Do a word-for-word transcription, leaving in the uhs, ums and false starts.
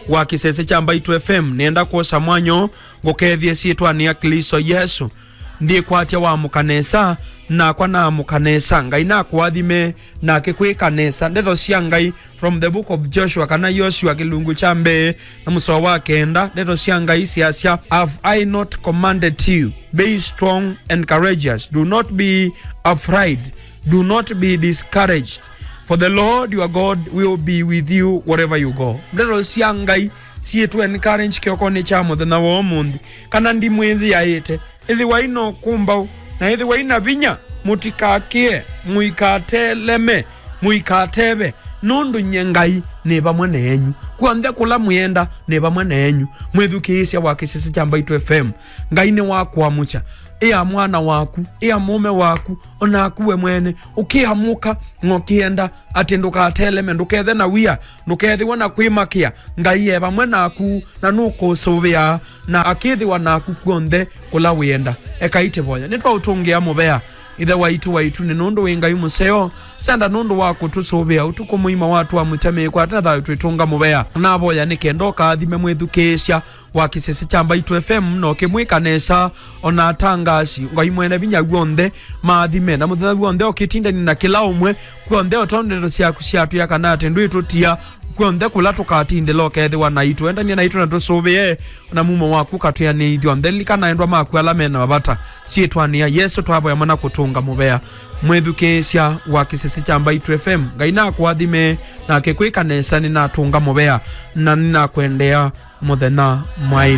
wa kĩsese kya Mbaitũ F M, nĩenda kwosa mwanya ũũ ngũkethye syĩtwanĩ ya Klĩsto Yesũ. Ndikwatya waamũka nesa, nakwa naamũka nesa. Ngai nakũathime na akĩkwĩka nesa. Ndeto sya Ngai from the book of Joshua, kana Yoshua, kĩlungu kya mbee na mũsoa wa kenda. Ndeto sya Ngai syasya, "Have I not commanded you? Be strong and courageous. Do not be afraid. Do not be discouraged. For the Lord your God will be with you wherever you go." Ndeto sya Ngai syĩtũ encourage kĩokonĩ kya mũthenya wa ũmũnthĩ, kana ndimwĩthĩaĩte. Ĩthĩwai na ũkũmbaũ, na ĩthĩwai na vinya, mũtikakĩe, mũikateleme, mũikateve, nũndũ nyie Ngai nĩ vamwe na enyu. Kw'onthe kũla mwĩenda nĩ vamwe na enyu. Mwĩthukĩĩsya wa kĩsese kya Mbaitũ F M, Ngai nĩwakũamũkya. Ĩa mwana waku, ĩa mũũme waku, o naku we mwene, ũkĩamũka, na ũkĩenda atĩ ndũkateleme, ndũkethe na wia, ndũkethĩwe na kwĩmakĩa. Ngai e vamwe naku, na nũkũsũvĩa, na akĩthĩwa naku kw'onthe kũla wĩenda. Ekai tĩvoya. Nĩtwaũtũngĩa mũvea, Ĩthe waitũ, waitũ, nĩ nũndũ wĩ Ngai mũseo. Senda nũndũ wa kũtũsũvĩa ũtukũ mũima, watũamũkya mĩĩko ate na thayũ twĩtũnga mũvea. Navoya nĩ kenda ũkaathime mwĩthukĩĩsya wa kĩsese kya Mbaitũ F M, na ũkĩmwĩka nesa, o na atangasi, Ngai mwene vinya w'onthe, maathime, na mũthenya w'onthe ũkĩtindani na kĩla ũmwe, kw'onthe o tondũ ndeto syaku syatwĩa kana atĩ ndwĩtũtia, kw'onthe kũla tũkatindĩla ũkethĩwa naitũ. Endanie naitũ na tũsũvĩe, o na mumo waku ũkatwĩanĩithya onthe. Lilikana endwa maku ala me na mavata. Syĩtwanĩ ya Yesũ twavoya mana kũtũnga mũvea. Mwĩthukĩĩsya wa kĩsese kya Mbaitũ F M, Ngai nakũathime, na akĩkwĩka nesa, nĩnatũnga mũvea, na nĩnakwendea mũthenya mwaĩ.